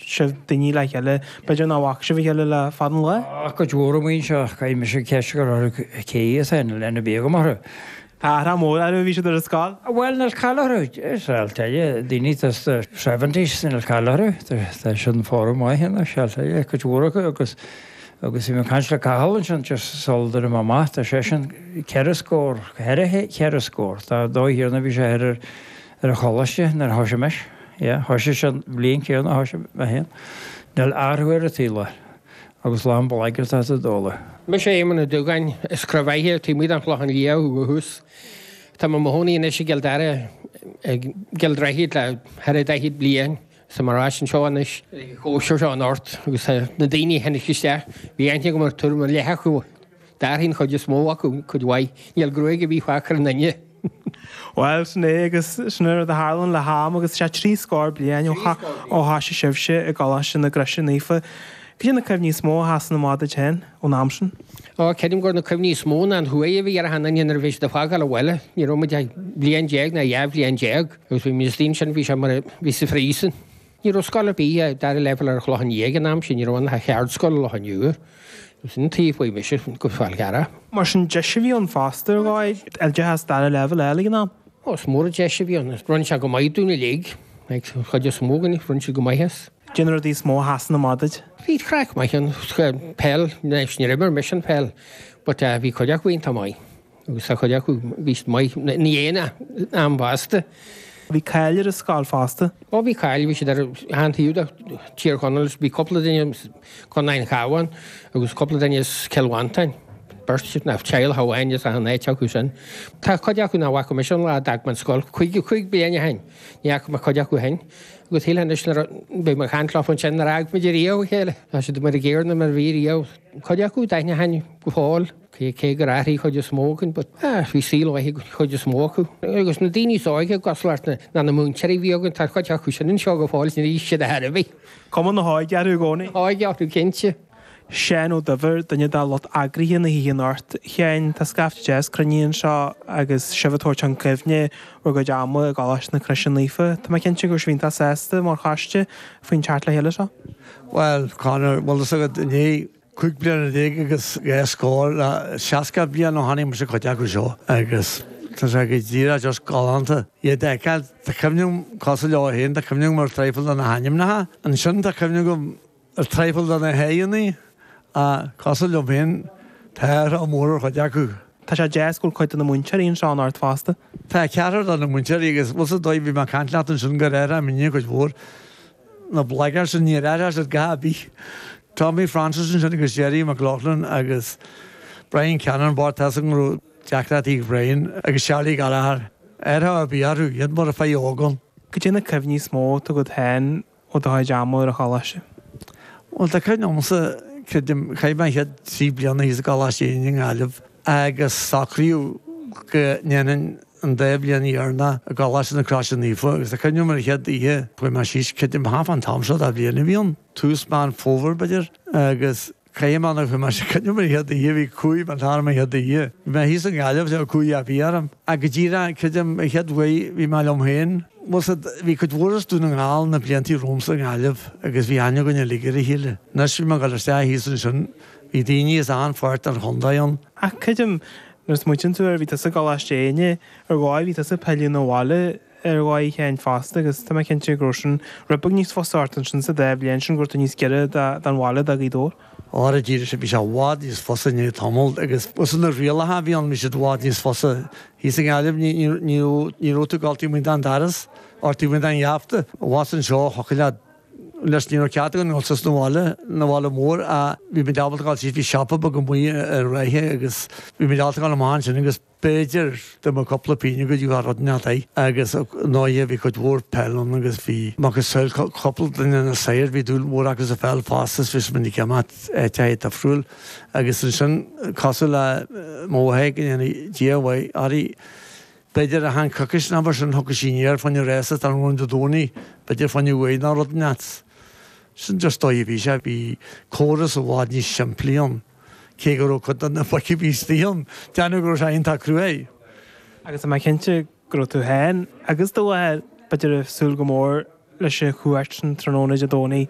sibh daoine le chéile, b'fhéidir nach bhfaca sibh a chéile le fada an lá? Á, cuid mhór amuigh anseo, caithfidh mise ceist a chur orthu cé hiad féin, níl aithne ar bith agam orthu. Tá athrá mór orthu, bhí siad ar an scoil. Bhuel, níl caill orthu, is I'll tell you, daoine atá sna seventies, níl caill orthu, tá siad in form maith anois, I'll tell you, cuid mhór acu agus agus bhí mé ag caint le Cathal ansin just sula dtabharfaidh mé amach, tá seisean ceithre scór, ceithre cheithre scór, tá dóigh thiarna bhí sé ar ar an choláiste nuair a thoisigh mise, yeah, thoisigh sé an bhliain chéanna a thoisigh mé féin, níl athrú ar an tsaol air. Agus lán blaghairt i dtólamh. Mise Éamonn Ó Dúgáin, as Croí Bheithe, taobh amuigh den Chlochán Liath ó thús. Tá mé i mo chónaí anois i gCill Dara, i gCill Droichid le thar 40 bliain. Tá mé ar ais anseo anois ag an chóisir seo anocht agus tá na daoine a tháinig isteach, bhí aithne agam ar tuairim ar leath acu. D'athraigh an chuid is mó acu cuid mhaith. Níl gruaig ar bith fágtha ar aon duine. Bhuel, sin é agus sin an rud a tharlaíonn le ham agus sé 30 bliain ó thoisigh sibhse i gColáiste na Croise Naofa. Cad é na cuimhní is mó a sheasann amach duit féin ón am sin? Ó, creidim gur na cuimhní is mó ná an chumhaidh a bhí ar achan duine nuair a bhí siad ag fágáil an bhaile. Ní raibh muid ach bliain déag ná 12 bhliain agus bhí muid istigh ansin, bhí sé mar a bhí sa phríosún. Ní raibh scoil ar bith dara leibhéal ar an Chlochán Liath ag an am sin, ní raibh ann ach cheardscoil i Loch an Iúir. Sin an taobh a chuaigh mise go Fál Carrach. Mar sin deis a bhí ann fosta ar dhóigh, oideachas dara leibhéal a fháil ag an am. Ó, is mór an deis a bhí ann. Rinne sé go maith dúinn uilig, an chuid is mó againn, rinne siad go maith as. Cad é na rudaí is mó a sheasann amach duit? Bhí craic maith ann, peil, anois níor imir mise an pheil but bhí cuid acu iontach maith. Agus tá cuid acu, bhí siad maith, ina dhiaidh an am fosta. Bhí cáil ar an scoil fosta. Ó bhí cáil, bhí siad ar achan taobh de Thír Chonaill, bhí cúpla duine as Contae an Chabháin agus cúpla duine as Cill Mhantáin, beirt nó teaghlach amháin as achan áit acu sin. Tá cuid acu nach bhfaca mise ón lá a d'fhág mé an scoil, 55 bliain ó shin, ní fhaca mé cuid acu ó shin. Agus shílfeá anois nuair a bheidh mé ag caint leofa ansin nár fhág muid ariamh a chéile. Tá siad mar an gcéanna mar a bhí riamh. Cuid acu d'aithneochainn go fóill. Cé gur athraigh chuid is mó againn but bhí saol mhaith ag an chuid is mó acu. Agus na daoine is óige cosúil leat ná na múinteoirí a bhí againn, tá cuid acu sin anseo go fóill is níor aois siad ar chor ar bith. Cuma na hóige orthu i gcónaí. Óige orthu cinnte. Seán Ó Duibhir, duine de lucht eagraithe na hoíche anocht. A Sheáin, tá scaifte deas cruinnithe anseo agus sibh ag tabhairt chun cuimhne bhur gcuid ama i gColáiste na Croise Naofa. Tá mé cinnte go raibh sibh iontach sásta mar choiste faoin teacht le chéile seo. Bhuel, Conor, bhfuil fhios agat, inné 15 bliana agus dhá scór le 60 bliain ó tháinig mise cuid acu seo agus tá sé go díreach just galánta iad a fheiceáil. Tá cuimhne agam, cosúil leo féin, tá cuimhne agam ar traidhfil de na hainmneacha. Ansin tá cuimhne agam ar traidhfil de na haghaidheanna ach cosúil liom féin tá athrú mór ar chuid acu. Tá sé deas go bhfuil cuid de na múinteoirí anseo anocht fosta. Tá ceathrar de na múinteoirí agus bhfuil 's agat bhí mé ag caint leat ansin gur athraigh muidne cuid mhór. Na blagairí sin, níor athraigh siad a dhath ar bith. Tommy Francis ansin agus Jerry McLaughlin agus Brian Cannon, bocht tá 's agam go raibh deacrachtaí ag Brian agus Charlie Gallagher. Athrú ar bith orthu, iad mar a fear óg ann. Cad é na cuimhní is mó atá agat féin ó do chuid ama ar an choláiste? Bhuel, tá cuimhne agamsa, creidim, chaith mé an chéad trí bliana thíos i gColáiste Éinne i nGaillimh agus socraíodh go ndéanfainn an dá bhliain dheireanach i gColáiste na Croise Naofa agus tá cuimhne agam ar an chéad oíche chuaigh mé síos, creidim, thart fán t-am seo de bhliain a bhí ann, tús Meán Fómhair b'fhéidir, agus caithfidh mé nach bhfuil mé sé cuimhne agam ar an chéad oíche, bhí cumhaidh mé orm an chéad oíche. Bhí mé thíos i nGaillimh, bhí cumhaidh ar bith orm. Ach go díreach, creidim, an chéad uair bhí mé liom féin. Bhuel, bhí cuid mhór as Dún na nGall na blianta romhamsa i nGaillimh agus bhí aithne againn uilig ar a chéile. Anois bhí mé ag dul isteach thíos ansin, bhí daoine as achan pháirt den chontae ann. Ach creidim, nuair a smaoitíonn tú air, bhí tusa i gColáiste Éinne, ar dhóigh, bhí tusa ag pilleadh 'na bhaile ar dhóigh a Sheáin fosta agus tá mé cinnte go raibh sin rud beag níos fusa ort ansin sa dá bhliain sin go raibh tú níos giorra don bhaile do Ghaoth Dobhair. Óra díreach sin, bhí sé i bhfad níos fusa i ndiaidh tamaill agus is na rialacha a bhí ann, bhí siad i bhfad níos fusa. Thíos i nGaillimh ní, ní, ní raibh, ní raibh tú ag dul taobh amuigh den doras or taobh amuigh den gheafta. Abhus anseo thiocfadh leat Leis ní raibh cead againn dul suas 'na bhaile, 'na bhaile mór ach bhí muid ábalta dul síos, bhí siopa beag amuigh ar ráithe agus bhí muid ábalta dul amach ansin agus b'fhéidir dá mbeadh cúpla pingin agat gheofá rud inteacht air agus ndóighe bhí cuid mhór peil ann agus bhí macasamhail cúpla duine na saoir, bhí dúil mhór acu sa pheil fosta is bhí muid ag imeacht áiteacha difriúil agus ansin cosúil le mo mháthair go ndéana Dia a mhaith uirthi, B'fhéidir achan coicís nó mar sin thiocfadh sí aniar fá choinne rása tráthnóna Dé Domhnaigh, b'fhéidir fá choinne uair nó rud inteacht. Sin just dóigh a bhí sé, bhí córas i bhfad níos simplí ann, cé go raibh cuid de na boic a bhí istigh ann, déanamh go raibh sé iontach cruaidh. Agus tá mé cinnte go raibh tú féin agus do mháthair, b'fhéidir, ag súil go mór leis an chuairt sin tráthnóna Dé Domhnaigh.